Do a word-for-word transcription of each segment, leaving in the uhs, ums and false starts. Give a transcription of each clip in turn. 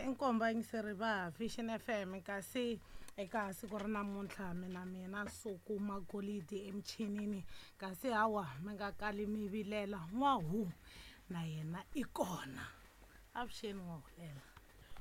Eh inkomba yingiseri va Vision F M kasi eka siku ra namuntlha mina mina Nsuku Magolidi emichinini kasi hawa mi nga kali mi vilela n'wahu na yena i kona. Avuxeni N'wahulela.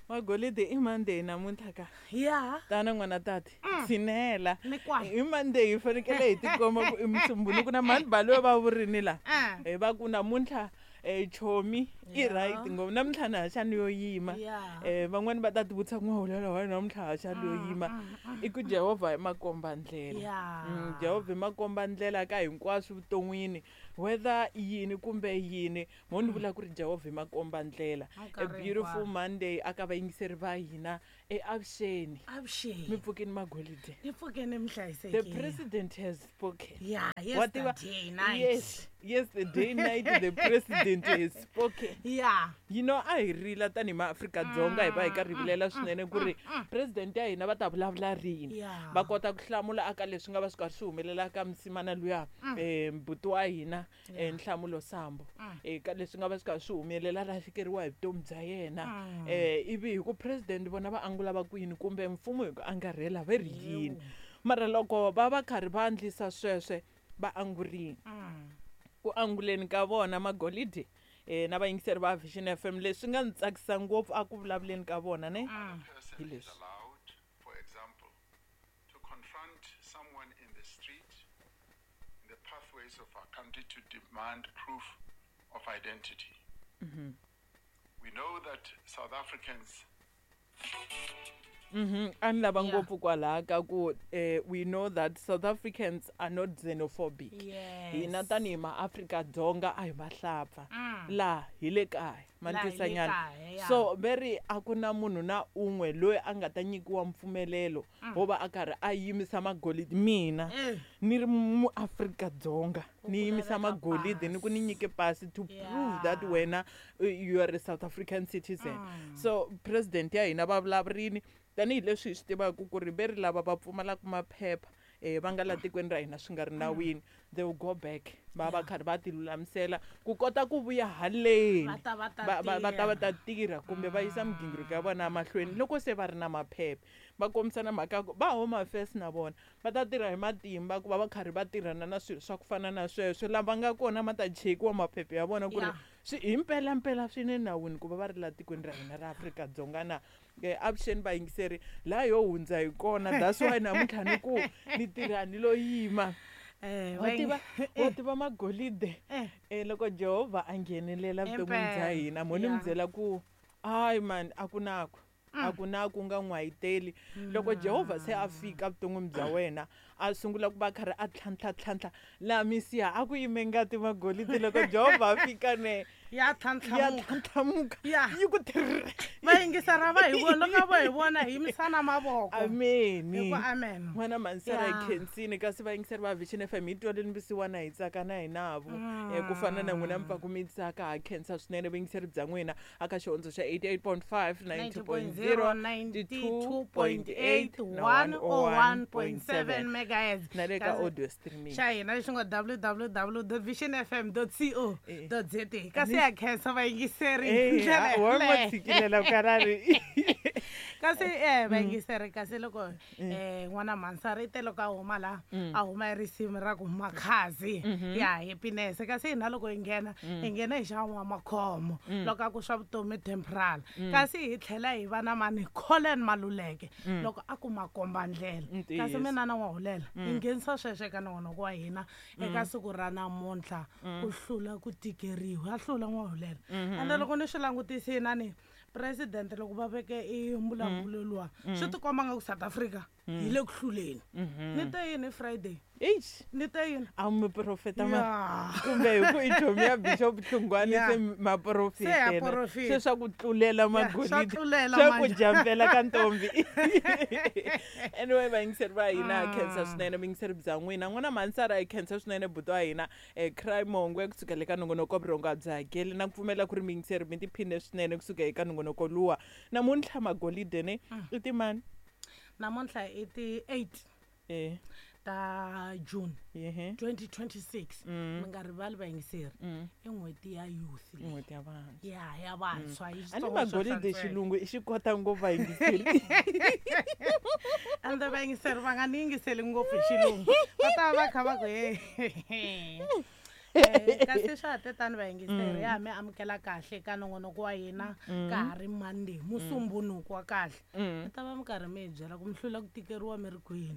Magolidi i Monday namuntlha ka. Ya. Tana n'wana tati. Tshinela. Ni kwala. I Monday hi fanekele hi tikomba ku i Musumbhunuku na mhani Baloyi va vurini la. Eh. Hi va ku namuntlha eh chomi i Ya. right ngopfu namuntlha na ha xani yo yima. Ya. Eh van'wani va ta ti vutisa ku N'wahulela wa namuntlha ha xani yo yima. I ku Jehovha hi makomba ndlela. Ya. Mm, Jehovha hi makomba ndlela ka hinkwaswo vuton'wini whether yini kumbe yini mo ni vula ku ri Jehovha hi makomba ndlela. A Nkarhi beautiful hinkwawo. Monday aka vayingiseri va hina eavuxeni. Avuxeni. Mi pfukeni Magolide. Ni pfukeni mi The hlayisekile. president has spoken. Yeah, Wa tiva- yesterday night. Yes, yes, the day night the president has spoken. Yeah. You know, a hi rila tanihi maAfrika-Dzonga hi va hi karhi hi vilela swinene ku ri president ya hina va ta vulavula rini. Yeah. Va kota ku hlamula aka leswi nga va swi karhi swi humelela ka msimana luya, eh, mbuti wa hina, eh, Nhlamulo Sambo. Eh, ka leswi nga va swi karhi swi humelela lahlekeriwa hi vutomi bya yena. Eh, ivi hi ku president vona va angula va ku yini kumbe mfumo hi ku angarhela va ri yini. Mara loko va va karhi va endlisa sweswe va angurini. Ku anguleni ka vona Magolidi eh na vayingiseri va Vision F M leswi nga ni tsakisa ngopfu a ku vulavuleni ka vona ne. Person Hi is leswi. allowed, for example, to confront someone in the street, in the pathways of our country to demand proof of identity. Mm-hmm. We know that South Africans Mhm, a ni lava Yeah. ngopfu kwalaha ka ku eh we know that South Africans are not xenophobic. Yes. Hina tanihi maAfrika-Dzonga a hi vahlapfa. La hi le kaya, ma ni La hi le twisa nyana. kaya, ya. So ve ri a ku na munhu na un'we loyi a nga ta nyikiwa mpfumelelo wo va a karhi a yimisa magolidi. Mina Eh. ni ri muAfrika-Dzonga Ku ni yimisa laveka magolidi ni ku ni pasi. nyike pasi to prove that Yeah. wena uh, you are a South African citizen. So president ya hina va vulavurini tanihileswi hi swi tivaka ku ri ve ri lava va pfumalaka maphepha eh va nga la tikweni ra hina swi nga ri nawini, they will go back va va karhi va ti lulamisela ku kota ku vuya haleni Va ta va ta va va va ta va ta tirha. tirha kumbe va yisa migingiriko ya vona emahlweni loko se va ri na maphepha. Va kombisana mhaka ya ku va Home Affairs na vona va ta tirha hi matimba ku va va karhi va tirhana na swilo swa ku fana na sweswo. Lava nga kona ma ta chekiwa maphepha ya vona ku ri Yeah. swi hi mpelampela swi ne nawini ku va va ri la tikweni ra hina ra Afrika-Dzonga na. Eh, avuxeni vayingiseri laha yo hundza hi kona that's why namuntlha ni ku ni tirha ni lo yima. Eh, Wa va tiva, ying- wa tiva Magolide. Eh. Eh, loko Jehovha a nghenelela vuton'wini bya Impela. hina mo ni mi Yeah. byela ku hayi man a ku na ku a ku na ku nga n'wayiteli. Loko Jehovha se a fika vuton'wini bya wena a sungula ku va karhi a tlhantlha tlhantlha laha misiha a ku yime ngati Magolidi loko Jehovha a fika ne Ya ya tlhantlhamuka. tlhantlhamuka Ya. yi ku tirr. Va yingisera va hi vona loko va hi vona hi yimisana mavoko. Ameni. Hi ku amen. N'wana Mansara hi Ya. khensini kasi vayingiseri va Vision F M hi twaleni vusiwana hi tsaka na hinavo. Eh, ku fana na n'wina mi pfa ku mi tsaka ha khensa swinene vuyingiseri bya n'wina aka xihondzo xa eighty-eight point five, ninety point zero, ninety-two point eight na one oh one point seven megahertz. na le ka Kasi audio streaming. xa hina lexi nga w w w dot vision f m dot co Eh. dot z a. Kasi ya khensa vayingiseri hi Eh, ndlela ha, wa ma yaleyo. tshikilela karari. Kasi eh vayingiseri kasi loko eh n'wana Mansara i te loko a huma laha a huma hi risimu ra ku Makhazi ya happiness kasi hina loko hi nghena hi nghena hi xa N'wamakhomo loko a ku swa vutomi temporal kasi hi tlhela hi va na mani Colin Maluleke loko a ku makomba ndlela kasi Ntiyiso. mina na N'wahulela hi nghenisa sweswo eka nongonoko wa hina eka siku ra namuntlha ku hlula ku tikeriwa ya hlula N'wahulela ende loko ni swi langutisini a ni president loko va veke i mbulavulo luwa swi tikomba nga ku South Africa hi le ku hluleni. Ni te yini Friday? Eish. Ni te yini? A mi profeta ma Ya. kumbe hi ku i chomi ya Bishop Hlungwani Ya. se ma Se ya profetela. profeta. Se swa ku tlulela Ya, swa Magolidi. tlulela Swa ku manje. jampela ka ntombi. Anyway, vayingiseri va hina ha khensa swinene vuyingiseri bya n'wina. N'wana Mansara hi khensa swinene buti wa hina eh Cry Mongwe kusuka le ka nongonoko wa Vurhonga bya hakeli na ku pfumela ku ri miyingiseri mi tiphine swinene kusuka eka nongonoko luwa. Namuntlha Magolide ne i timani? Namuntlha i ti eight Eh. ta ta June Ehe. twenty twenty-six. Mm. Mi nga rivali vayingiseri, Mm. i n'hweti ya youth leyi. N'hweti ya vantshwa. Ya ya vantshwa hi A ni Xitsonga swo magolide hlantsweka. xilungu i xi kota ngopfu vayingiseri. Ende vayingiseri va nga ni yingiseli ngopfu hi xilungu, va ta va va kha va ku he. Eh, kasi swa ha te tani vayingiseri, ya mi amukela kahle ka nongonoko wa hina ka ha ri Monday, musumbunuku wa kahle. Mi ta va mi karhi mi hi byela ku mi hlula ku tikeriwa mi ri kwini,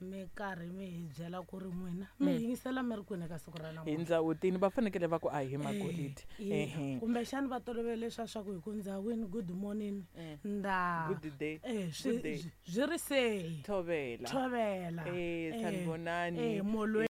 mi karhi mi hi byela ku ri n'wina mi yingisela mi ri kwini eka siku ra Hi namuntlha. ndzawutini va fanekele va ku a hi magolide. Eh, Ehe. kumbexani va tolovele leswa swa ku hi ku ndzawini good morning nda Good day. Eh, swi Good day. byi ri sehi. Thovela. Thovela. Eh, Eh, sanibonani. eh, molweni.